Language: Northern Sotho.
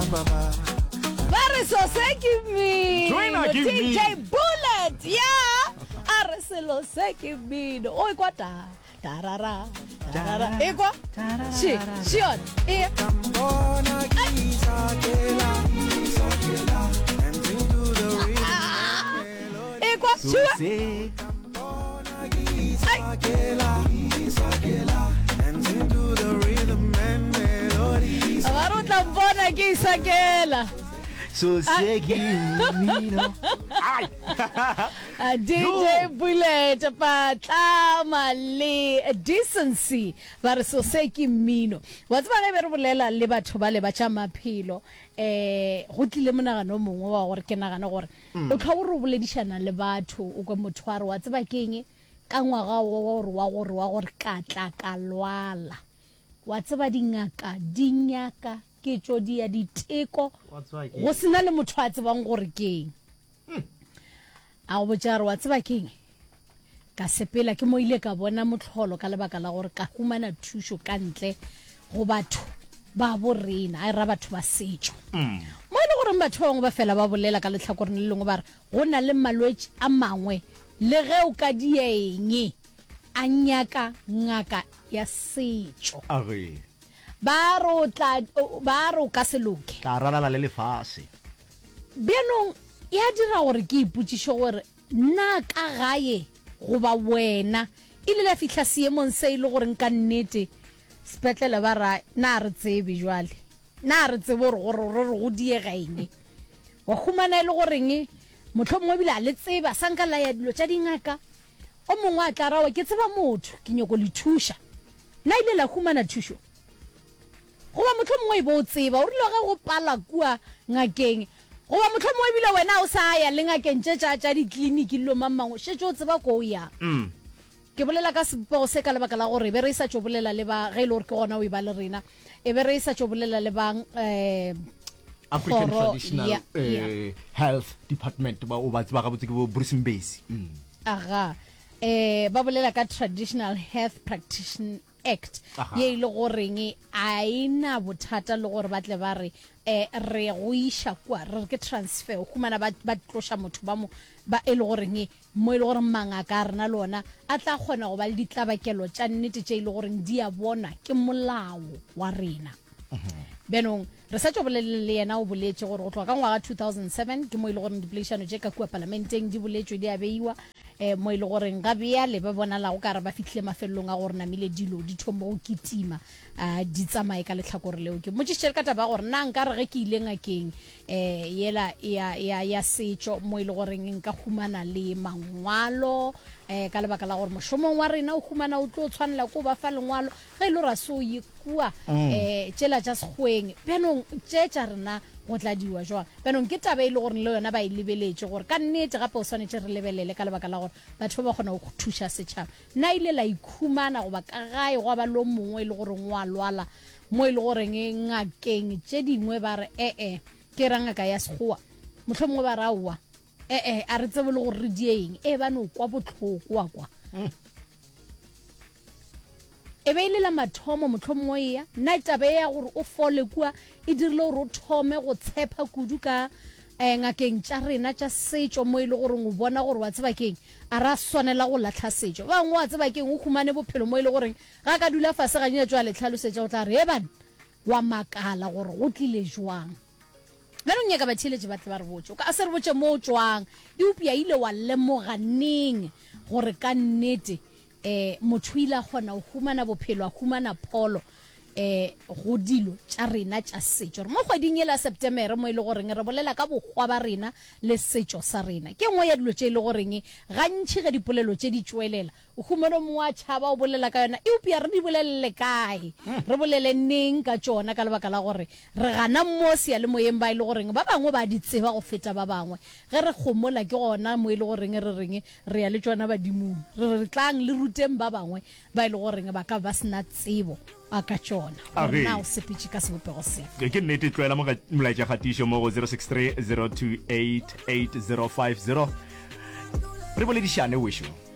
Ba re so se ke mmino. Joina ke DJ mmino. Bullet ya a re selo se ke mmino. O ekwa ta tarara tarara ekwa she she yona e ekwa So she se Ba re o tla mpona ke isakela. So se ke mmino. Ai. Ah, DJ Bullet Patlama le Decency ba re so se ke mmino. Wa tseba ge be re bolela le batho ba le ba tša maphelo eh go tlile monagano o mongwe wa gore ke nagane gore o tlhwa o re o boledišana le batho o kwe motho a re wa tseba keng Ka ngwaga wo wa gore wa gore wa gore ka tla ka lwala. Wa tseba dingaka di nyaka ke tšo di ya diteko go sena le motho a tsebang gore keng. A go botša re wa tseba keng? Ka sepela ke mo ile ka bona mohlolo ka lebaka la gore ka humana thušo ka ntle go batho ba bo rena, a ra batho ba setšo. Mo e le goreng batho ba bangwe ba fela ba bolela ka lehlakoreng le lengwe ba re go na le malwetši a mangwe Le ge o ka dia eng, a nyaka ngaka ya setšo. A re. Ba re o tla, ba re o ka se loke. Tla ralala le lefase. Bjanong ya dira gore ke ipotšiše gore, Na ka gae goba wena ile la fihla seemong se e le goreng ka nnete sepetlele ba ra, na re tsebe jwale? Na re tsebe gore gore re re go diega eng? Wa humana e le goreng mohlomongwe ebile a le tseba, sa nka la ya dilo tša dingaka. O mongwe a tla ra, Ke tseba motho, ke nyoko le thuša. Na ile la humana thušo? Goba mohlomongwe e be o tseba, o rile ge go pala kua ngakeng, goba mohlomongwe ebile wena o sa ya le ngakeng tše tša, tša dikliniki le dilo mang mang, o šetše o tseba ko o yang. Ke bolela ka sebopego se ka lebaka la gore e be re sa tšo bolela le ba, ge e le gore ke gona o e ba le rena, e be re sa tšo bolela le ba um African kgoro Traditional ya, ya. eh, Health Department ba o ba tseba gabotse ke bo Bruce Mbesi. Mm. Aga, eh, ba bolela ka Traditional Health Practition Act Aha. ye e le goreng a e na bothata le gore ba tle ba re eh, re go iša kua re re ke transfer o humana ba, ba tloša motho ba mo ba e le goreng mo e le gore mangaka a rena le ona a tla kgona go ba le ditlabakelo tša nnete tše e le goreng di a bona ke molao wa rena. Bjanong re sa tšo boleleng le yena o boletše gore go tloga ka ngwaga 2007 ke mo e le goreng dipoledišano tše ka kua palamenteng di boletšwe di a beiwa um mo e le goreng ga bjale ba bonalago ka re ba fihlile mafelelong a gore namile dilo di thombo go kitima um di tsamaye ka lehlakore leo. Ke mmotšišitše le ka taba ya gore na nka re ge ke ile ngakeng um yela ya, ya, ya setšo mo e le goreng nka humana le mangwalo um ka lebaka la gore mošomong wa rena o humana o tlo tshwanela ko ba fa lengwalo ge e le gore a se o ye kua um tšela tša sekgweng bjanong tše tša rena go tla diwa jwang. Bjanong ke taba e le goreng le yona ba e lebeletše gore ka nnete gape o swanetše re lebelele ka lebaka la gore batho ba ba kgona go thuša setšhaba. Na ile la ikhumana goba ka gae gwa ba le o mongwe e le goreng o a lwala mo e le goreng ngakeng tše dingwe ba re e-e ke ra ngaka ya sekgowa mohlomongwe ba re aowa e-e a re tsebe le gore re die eng e ba no kwa bohloko wa kwa e be e le la mathomo mohlomongwe eya na taba e ya gore o fole kua e dirile gore o thome go tshepa kudu ka um ngakeng tša rena tša setšo mo e le goreng o bona gore wa tseba keng a ra swanela go lahla setšo ba bangwe wa tseba keng o humane bophelo mo e le goreng ga ka dula fase ga nyetšo a le tlhalosetša o tla re e bana wa makala gore go tlile jwang bjale o nyaka batheeletši ba tle ba re botše o ka se re botše mo o tšwang eupša ile wa lemoga neng gore ka nnete um motho o ile a kgona go humana bophelo a humana pholo um go dilo tša rena tša setšo re mo kgweding yela Septemere mo e le goreng re bolela ka bokgwa ba rena le setšo sa rena ke nngwe ya dilo tše e le goreng gantši ge dipolelo tše di tšwelela o humana o mongwe a tšhaba o bolela ka yona eupša re di bolelele kae re bolele neng ka tšona ka lebaka la gore re gana mo seyalemoyeng ba e le goreng ba bangwe ba di tseba go feta ba bangwe ge re gomola ke gona mo e le goreng re reng re ya le tšona badimong re re tlang le ruteng ba bangwe ba e le goreng ba ka ba se na tsebo a ka tšona gore na o sepetše ka sebopego sefe. Ke nnete, tlwaela molaetšakgatišo mo go 063 028 8050 re boledišane wešo.